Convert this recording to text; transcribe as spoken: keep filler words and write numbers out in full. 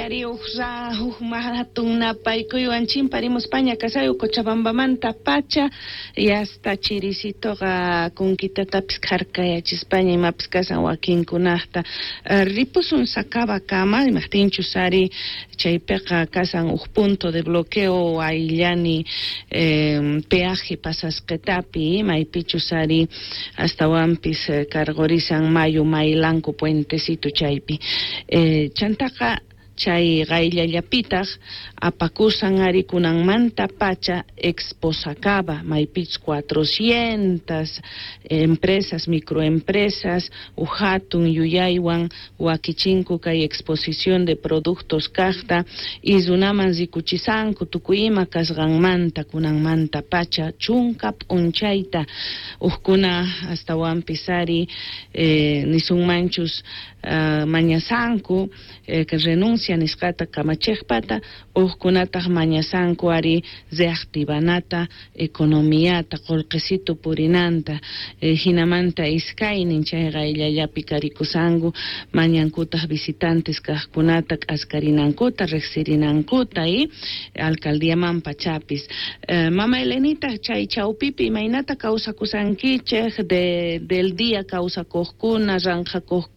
Ari uj ra uj hatun napaykuywan chimparimuspaña kasayu Cochabambamanta pacha y hasta chirisitoqa kunkitatapis kharkayachispaña imapis kasan wakinkunaqta uh, ripusun Sacabakama imajtinchus ari chaypiqa kasan uj punto de bloqueo ayllani eh, peaje pasasqetapi maypichus ari astawanpis eh, cargorisan mayu maylanku puentecito chaypi eh, chantaqa chay qayllallapitaq apakusan ari kunanmanta pacha Expo Sacaba maypich cuatrocientas empresas microempresas uj hatun yuyaywan wakichinku kay exposición de productos kaqta y runaman rikuchisanku tukuy ima kasqanmanta kunanmanta pacha chunka p'unchayta ujkuna astawanpis ari eh, nisunmanchus uh, mañasanku eh, que renuncia nisqata kamachiqpata ujkunataq mañasanku ari reactivanata economiata qullqisitu purinanta eh, hinamanta iskaynin chay qayllallapi karikusanku mañankutaq visitantes kaqkunata k'askarinankuta riqsirinankuta y alcaldiaman pachapis eh, mama Elenita chay chawpipi imaynata kawsakusankichik de del día kawsakuqkuna ranqhakuqkuna.